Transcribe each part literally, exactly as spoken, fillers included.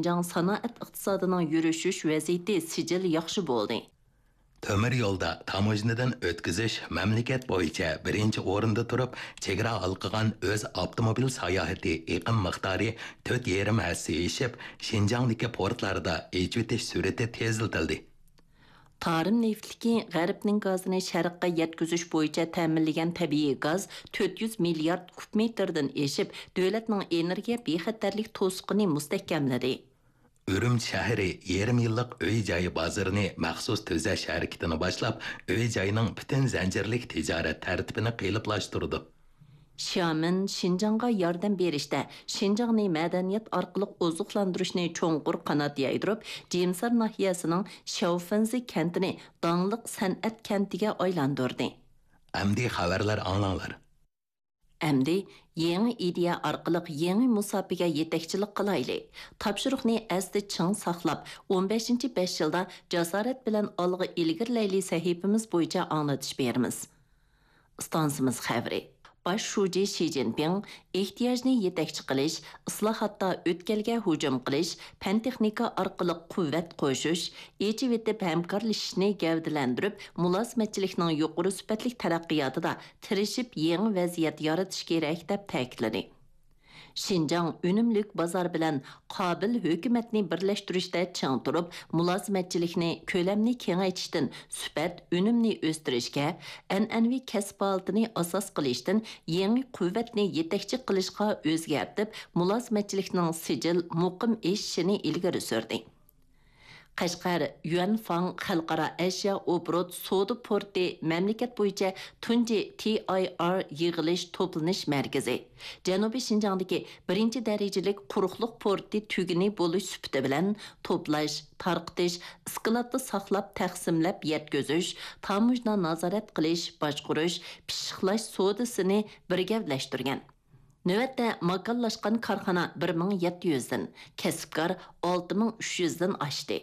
شىنجاڭ سانائەت ئىقتىسادىنىڭ يۈرۈشۈش ۋەزىيىتى سىجىل ياخشى بولدى. تۆمۈر يولدا تاموژنىدىن ئۆتكۈزۈش مەملىكەت بويىچە بىرىنچى ئورۇندا تۇرۇپ، چېگرا ھالقىغان ئۆز ئاپتوموبىل ساياھىتى ئېقىم مىقدارى تۆت يېرىم ھەسسە ئېشىپ، شىنجاڭدىكى پورتلاردا ئېچىۋېتىش سۈرئىتى تېزلىتىلدى. تارىم نېفىتلىكى غەربنىڭ گازىنى شەرققە يەتكۈزۈش بويىچە تەمىنلىگەن تەبىئىي گاز تۆت يۈز مىليارد كۇب مېتىردىن ئېشىپ، دۆلەتنىڭ ئېنېرگىيە بىخەتەرلىك توسۇقىنى مۇستەھكەملىدى. ئۈرۈمچى شەھىرى يېرىم يىللىق ئۆي-جاي بازىرىنى مەخسۇس تۈزەش ھەرىكىتىنى باشلاپ، ئۆي-جاينىڭ پۈتۈن زەنجىرلىك تىجارەت تەرتىپىنى قېلىپلاشتۇرىدۇ. شيامېن شىنجاڭغا ياردەم بېرىشتە شىنجاڭنى مەدەنىيەت ئارقىلىق ئوزۇقلاندۇرۇشنى چوڭقۇر قانات يايدۇرۇپ، جىمسار ناھىيەسىنىڭ شياۋفېنزى كەنتىنى داڭلىق سەنئەت كەنتىگە ئايلاندۇردى. ئەمدى خەۋەرلەر ئاڭلاڭلار. ئەمدى يېڭى ئىدىيە ئارقىلىق يېڭى مۇساپىگە يېتەكچىلىك قىلايلى. تاپشۇرۇقنى ئەستە چىڭ ساقلاپ، ئون بەشىنچى بەش يىلدا جاسارەت بىلەن ئالغا ئىلگىرىلەيلى سەھىپىمىز بويىچە ئاڭلىتىش بېرىمىز. ئىستانسىمىز خەۋىرى. باش شۇجى شى جىنپىڭ ئېھتىياجنى يېتەكچى قىلىش، ئىسلاھاتتا ئۆتكەلگە ھۇجۇم قىلىش، پەن-تېخنىكا ئارقىلىق قۇۋۋەت قوشۇش، ئېچىۋېتىپ ھەمكارلىشىشنى گەۋدىلەندۈرۈپ، مۇلازىمەتچىلىكنىڭ يۇقىرى سۈپەتلىك تەرەققىياتىدا تىرىشىپ يېڭى ۋەزىيەت يارىتىش كېرەك، دەپ تەكىتلىدى. شىنجاڭ ئۈنۈملۈك بازار بىلەن قابىل ھۆكۈمەتنى بىرلەشتۈرۈشتە چىڭ تۇرۇپ، مۇلازىمەتچىلىكنى، كۆلەمنى كېڭەيتىشتىن سۈپەت، ئۈنۈمنى ئۆستۈرۈشكە، ئەنئەنىۋى كەسىپ ھالىتىنى ئاساس قىلىشتىن يېڭى قۇۋۋەتنى يېتەكچى قىلىشقا ئۆزگەرتىپ، مۇلازىمەتچىلىكنىڭ سىجىل، مۇقىم ئېشىشىنى ئىلگىرى سۈردى. قەشقەر يۈەنفاڭ خەلقئارا ئەشيا ئوبوروت سودا پورتى مەملىكەت بويىچە تۇنجى تى ئاي ئار يىغىلىش توپلىنىش مەركىزى، جەنۇبىي شىنجاڭدىكى بىرىنچى دەرىجىلىك قۇرۇقلۇق پورتى تۈگۈنى بولۇش سۈپىتى بىلەن توپلاش، تارقىتىش، ئىسكىلاتتا ساقلاپ تەقسىملەپ يەتكۈزۈش، تاموژنا نازارەت قىلىش، باشقۇرۇش، پىششىقلاش سودىسىنى بىر گەۋدىلەشتۈرگەن. نۆۋەتتە ماكانلاشقان كارخانا بىر مىڭ يەتتە يۈزدىن، كەسىپكار ئالتە مىڭ ئۈچ يۈزدىن ئاشتى.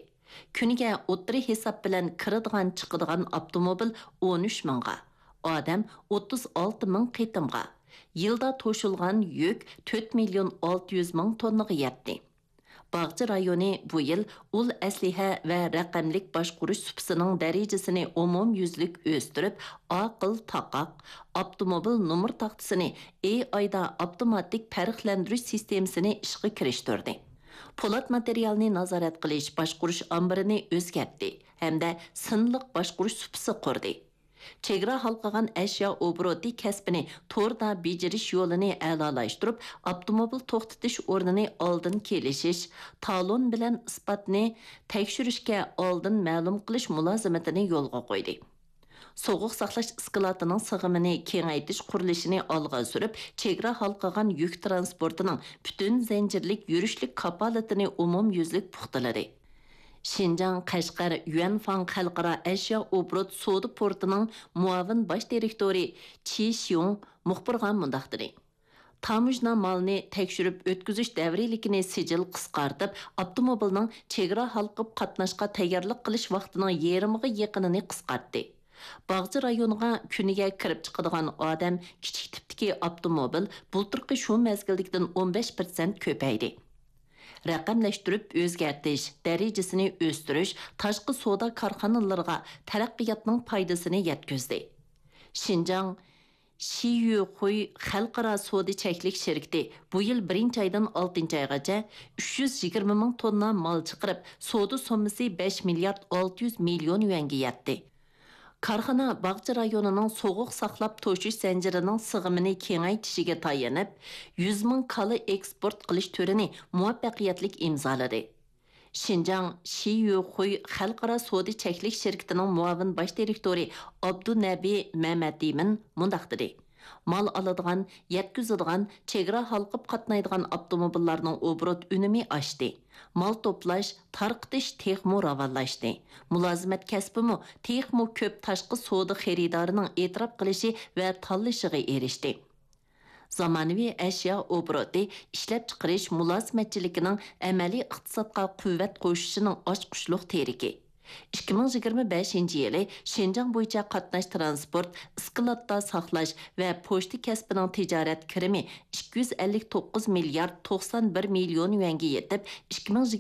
كۈنىگە ئوتتۇرا ھېساب بىلەن كىرىدىغان، چىقىدىغان ئاپتوموبىل ئون ئۈچ مىڭغا، ئادەم ئوتتۇز ئالتە مىڭ قېتىمغا، يىلدا توشۇلغان يۈك تۆت مىليون ئالتە يۈز مىڭ توننىغا يەتتى. باغچە رايونى بۇ يىل ئۇل ئەسلىھە ۋە رەقەملىك باشقۇرۇش سۇپىسىنىڭ دەرىجىسىنى ئومۇميۈزلۈك ئۆستۈرۈپ، ئاقىل تاقاق، ئاپتوموبىل نومۇر تاختىسىنى ئېي ئايدا ئاپتوماتىك پەرقلەندۈرۈش سىستېمىسىنى ئىشقا كىرىشتۈردى. پولات ماتېرىيالنى نازارەت قىلىش باشقۇرۇش ئامبىرىنى ئۆزگەرتتى ھەمدە سىنلىق باشقۇرۇش سۇپىسى قۇردى. چېگرا ھالقىغان ئەشيا ئوبوروتى كەسپىنى توردا بېجىرىش يولىنى ئەلالاشتۇرۇپ، ئاپتوموبىل توختىتىش ئورنىنى ئالدىن كېلىشىش، تالون بىلەن ئىسپاتنى تەكشۈرۈشكە ئالدىن مەلۇم قىلىش مۇلازىمىتىنى يولغا قويدى. سوغۇق ساقلاش ئىسكىلاتىنىڭ سىغىمىنى كېڭەيتىش قۇرۇلۇشىنى ئالغا سۈرۈپ، چېگرا ھالقىغان يۈك تىرانسپورتىنىڭ پۈتۈن زەنجىرلىك يۈرۈشلۈك كاپالىتىنى ئومۇميۈزلۈك پۇختىلىدى. شىنجاڭ قەشقەر يۈەنفاڭ خەلقئارا ئەشيا ئوبوروت سودا پورتىنىڭ مۇئاۋىن باش دىرېكتورى چى شيۇڭ مۇخبىرغا مۇنداق دېدى: تاموژنا مالنى تەكشۈرۈپ ئۆتكۈزۈش دەۋرىيلىكىنى سىجىل قىسقارتىپ، ئاپتوموبىلنىڭ چېگرا ھالقىپ قاتناشقا تەييارلىق قىلىش ۋاقتىنىڭ يېرىمىغا يېقىنىنى قىسقارتتى. باغچە رايونىغا كۈنىگە كىرىپ چىقىدىغان ئادەم، كىچىك تىپتىكى ئاپتوموبىل بۇلتۇرقى شۇ مەزگىلدىكىدىن ئون بەش پىرسەنت كۆپەيدى. رەقەملەشتۈرۈپ ئۆزگەرتىش، دەرىجىسىنى ئۆستۈرۈش تاشقى سودا كارخانىلىرىغا تەرەققىياتنىڭ پايدىسىنى يەتكۈزدى. شىنجاڭ شىيۈخۇي خەلقئارا سودا چەكلىك شىركىتى بۇ يىل بىرىنچى ئايدىن ئالتىنچى ئايغىچە ئۈچ يۈز يىگىرمە مىڭ توننا مال چىقىرىپ، سودا سوممىسى بەش مىليارد ئالتە يۈز مىليون يۈەنگە يەتتى. كارخانا باغچە رايونىنىڭ سوغۇق ساقلاپ توشۇش زەنجىرىنىڭ سىغىمىنى كېڭەيتىشىگە تايىنىپ، يۈز مىڭ كالا ئېكسپورت قىلىش تۈرىنى مۇۋەپپەقىيەتلىك ئىمزالىدى. شىنجاڭ شىيۈخۇي خەلقئارا سودا چەكلىك شىركىتىنىڭ مۇئاۋىن باش دىرېكتورى ئابدۇنەبى مەمەتئىمىن مۇنداق دېدى: مال ئالىدىغان، يەتكۈزىدىغان، چېگرا ھالقىپ قاتنايدىغان ئاپتوموبىللارنىڭ ئوبوروت ئۈنۈمى ئاشتى. مال توپلاش، تارقىتىش تېخىمۇ راۋانلاشتى. مۇلازىمەت كەسپىمۇ تېخىمۇ كۆپ تاشقى سودا خېرىدارىنىڭ ئېتىراپ قىلىشى ۋە تاللىشىغا ئېرىشتى. زامانىۋى ئەشيا ئوبوروتى ئىشلەپچىقىرىش مۇلازىمەتچىلىكىنىڭ ئەمەلىي ئىقتىسادقا قۇۋۋەت قوشۇشىنىڭ ئاچقۇچلۇق تىرىكى. ئىككى مىڭ يىگىرمە بەشىنچى يىلى شىنجاڭ بويىچە قاتناش تىرانسپورت، ئىسكىلاتتا ساقلاش ۋە پوچتا كەسپىنىڭ تىجارەت كىرىمى ئىككى يۈز ئەللىك توققۇز مىليارد توقسان بىر مىليون يۈەنگە يېتىپ، ئىككى مىڭ يىگىرمە